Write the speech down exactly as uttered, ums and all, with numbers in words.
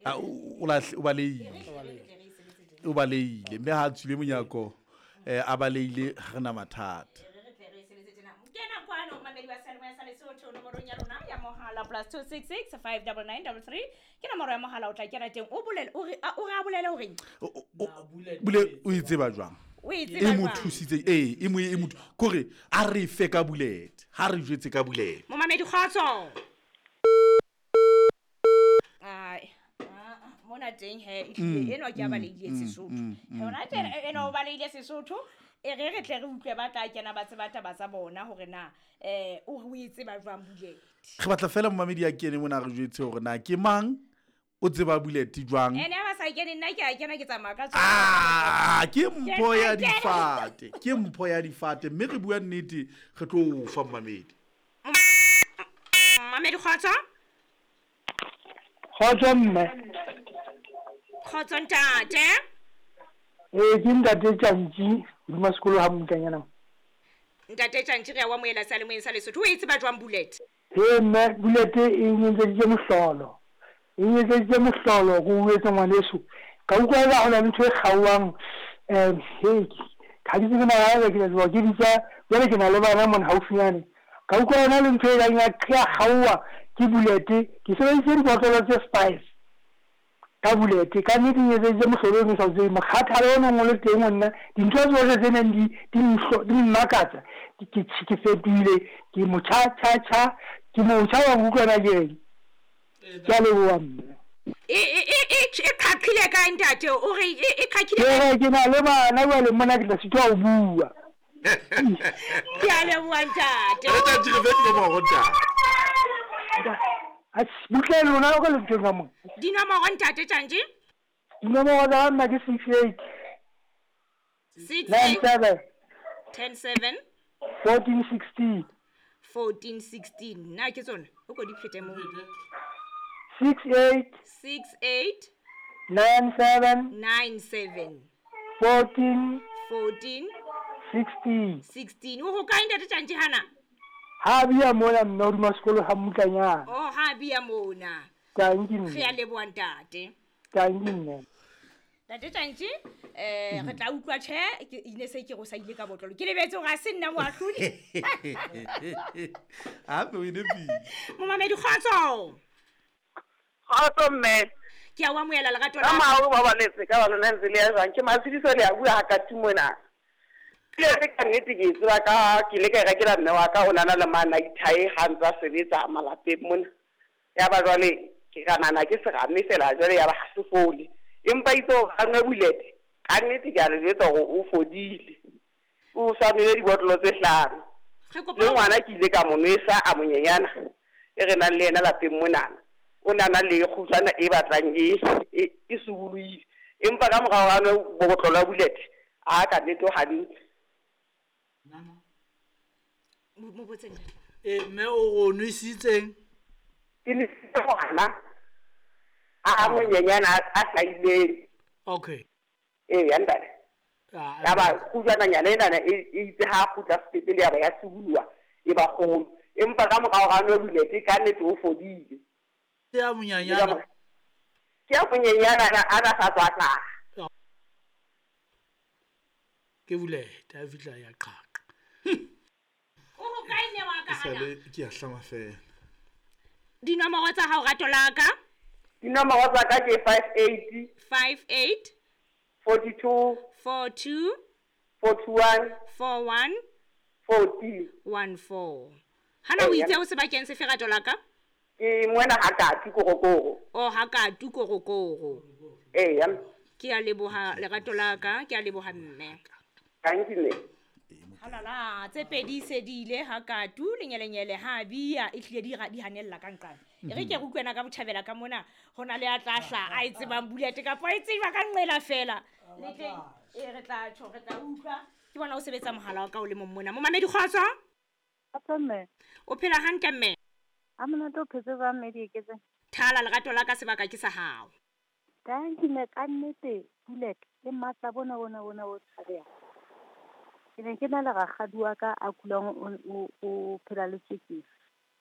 Ah, o o lahle- o baleile o baleile mme ha a tswile monyako um a baleile ga re na mathata kena kwano mamedi wa seyalemoya sa lesotho nomorong ya rona ya mohala plus two six six five double nine double three ke nomoro ya mohala o tla kena teng o bolele o re a- o re a bolele horeng O- o- o- bule o e tseba jwang o e e tseba mo jwang thusitse ee e mo e mo kore a re fe ka bulete ha re jwetse ka bulete momamedi kgotso ai ah, mona teng he ehlile enwa ke a baleile sesotho yona tena enwa o baleile sesotho e re re tle re utlwe ba tla kena ba tseba taba tsa bona hore na um o re o e tseba jwang bulete re batla fela momamedi a kene mona a re jwetse hore na ke mang o tseba bulete jwang ene ha ba sa kene nna ke a kena ke tsamaya ka tsona Ah, ke mpho ya Ke tla kena. difate ke mpho ya difate mme re bua nnete re tlo o fa momamedi mamedi kgotso Kgotso mme. kgotso ntate Ee ke ntate Tjantji hodima sekolo ha Mmutlanyana. ntate tjantji re a o amohela seyalemoyeng sa lesotho o e tseba jwang bullet He mme bulete e nyetseditse mohlolo. E nyetseditse mohlolo ko o etse ngwaneso. Ka utlwa eka ho na le ntho e kgaohang um he ha ke tsebe na haeba ke tla tloha ke bitsa jwale ke na le bana mona haufinyane. Ka utlwa hona le ntho e kang ya ya kgaoha ke bulete. Ke sebedisitse dibotlolo tse five ka bulete ka nnete e etseditse mohlolo ono o sa o tsebeng mokgathala o neng o le teng ho nna dintho tsohle tse neng di di nhlo- di mmakatsa ke ke ke fetohile ke motjha tjha tjha ke motjha wa nkutlwa na ke reng ke a leboha mme e e e e- e qhaqhile kae ntate o re e e qhaqhile ke re ke na le bana jwale mona ke tla sitwa ho bua ke a leboha ntate re tjantji re fe dinomoro ntate A- butle lona o ka le nthong ka mona dinomoro ntate tjantji dinomoro tsa ka nna ke six eight six nine eight seven ten seven fourteen sixteen fourteen sixteen na ke tsona o ko di phete moo six eight six eight nine seven nine seven fourteen fourteen sixteen sixteen o ho kae ntate tjantji hana ha bia mona mme hodima sekolo ha Mmutlanyana o ha bia mona tanki re a mme leboha ntate tanki mme ntate tjantji um re tla utlwa tjhe ke ine se ke re o sa ile ka botlolo ke lebetse hore ha se nna moahlodi ape o e nepile momamedi kgotso Kgotso mme. ke a o amohela lerato Ka la mahao ba baletse ka ba lona ntse le ya jwang. Ke Matshidiso le a bua ha ka mona. Ke ka nnete ke e tseba ka ke ile ka e rekela mme wa ka o nana le manaithae ha ntse a sebetsa malapeng mona. Ya ba jwale ke ka nahana ke serame fela jwale ya ba ha se fole. Empa itse hore ha nwe bulete ka nnete ke a le jwetsa hore o fodile. O sa nwele dibotlolo tse hlano. re Le kopa ngwana ke ile ka mo nwesa a monyenyana e re nang le yena lapeng monana. O nana le kgutshwana e batlang e e e subulohile. Empa ka morao ha nwe botlolo ya bulete a ka nnete o hantle. mo mo botse ntate e mme o go nwesitseng Ke nesitse ngwana a monyenyana a a hlahileng. okay Eya ntate. Ah, Ya ba kgutshwananyana enana e e itse ha a kgutla sepetlele ya ba ya subuloha e ba kgolo. Empa ka morao ha nwe bulete ka nnete o fodile. ke ya monyanyana Ke a monyenyana ana a na sa tswa hlaha. ke bulete ha e fihla ya qhaqa o ho kae mme wa ka hana sale ke a hlama fela dinomoro tsa hao rato la ka Dinomoro tsa ka ke five eight five eight forty two four two forty one four one fourteen. one four hana o Eya. itse o sebakeng sefe rato la ka Ke mona ha kati korokoro. o ha katu korokoro Eya. ke a leboha lerato la ka ke a leboha mme Thank you mme. halala tse pedi se di ile ha katu lenyelenyele ha bia e hlile di ra- di hanella ka nqane e re ke re utlwena ka botjhabela ka mona ho na le a tla hla a e tsebang bulete kapa a e tseba ka nqela fela le teng e re tla tjho re tla utlwa ke bona o sebetsa mohala wa ka o le mong mona momamedi kgotso Kgotso mme, o phela hantle mme ha monate o phetse jwang mme Dieketseng? thala lerato la ka sebaka ke sa hao Tanki mme ka nnete Bullet le matla bona bona bona bo tshabehang. Ke ne ke na le rakgadi wa ka a kulang o o o phela le tswekere.